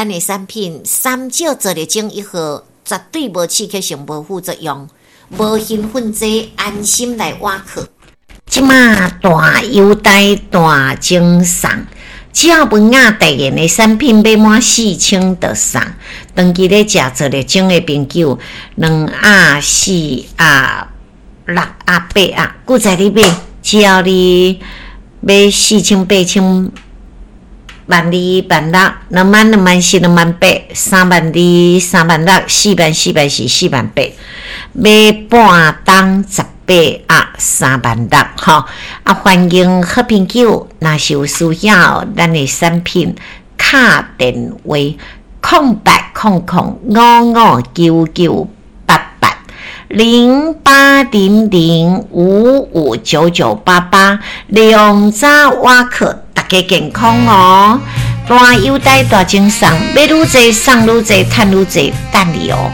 咱的產品三少做力精一盒，絕對無刺激性、無副作用，無興奮劑，安心來倚靠。這馬大優待大贈送，只要文雅代言的產品買滿四千就送。長期咧食做力精的朋友，兩盒、四盒、六盒、八盒，閣再你買，只要你買四千、八千、萬二、萬六、2萬、2萬4、2萬8、3萬2、3萬6、4萬、4萬4、4萬8，買半桶18盒3萬6吼。啊，歡迎好朋友，若是有需要咱的產品，敲電話0800559988 0800559988，良早倚靠，大家健康哦！大優待大贈送，買愈濟送愈濟，趁愈濟，等你哦！